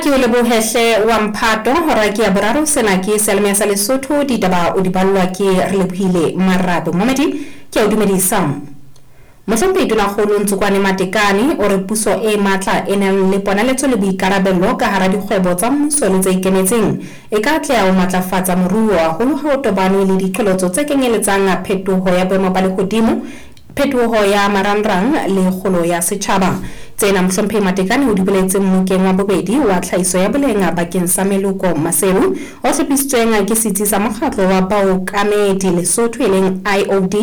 Ke o lebohe hle wa mphato. Hora ke ya boraro. Sena ke seyalemoya sa Lesotho. Ditaba o di ballwa ke Relebohile Marabe. Momamedi, ke a o dumedisa. Mohlomphehi Tonakgolo Ntsokwane Matekane o re puso e matla e nang le ponaletso le boikarabello ka hara dikgwebo tsa mmuso le tse ikemetseng e ka atleha ho matlafatsa moruo haholo ha o tobanwe le diqholotso tse kenyeletsang phetoho ya boemo ba lehodimo, phetoho ya marangrang le kgolo ya setjhaba. Tsena Mohlomphehi Matekane o di boletse mmokeng wa bobedi wa tlhahiso ya boleng bakeng sa meloko Maseru o hlophisitsweng ke setsi sa mokgatlo wa baokamedi Lesotho e leng IOD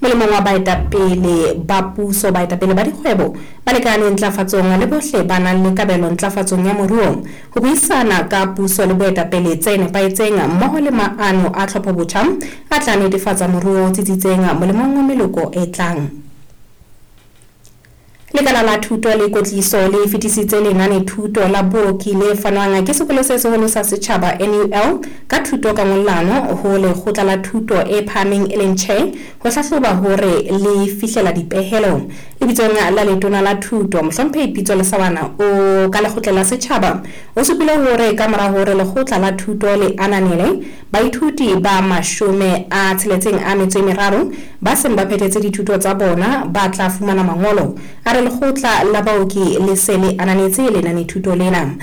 molemong wa baetapele ba puso, baetapele ba dikgwebo, balekane ntlafatsong le bohle ba nang le kabelo ntlafatsong ya moruo ho buisana ka puso le boetapele tse nepahetseng mmoho le maano a tlhophobotjha a tla netefatsa moruo o tsitsitseng molemong wa meloko e tlang. Lekala la Thuto le Kwetliso le fetisitse lenanethuto la booki le fanwang ke Sekolo se Seholo sa Setjhaba, NUL, ka thuto ka ngollano ho Lekgotla la Thuto e Phahameng e leng Tjhe ho hlahloba hore le fihlela dipehelo. Lebitsong la Letona la Thuto, Mohlomphehi Pitso Lesawana o ka Lekgotleng la Setjhaba o supile hore ka mora hore Lekgotla la Thuto le ananele Baithuti ba 63 ba seng ba phethetse dithuto tsa bona ba tla fumana mangolo. A re lekgotla la baoki le se le ananetse lenanethuto lena.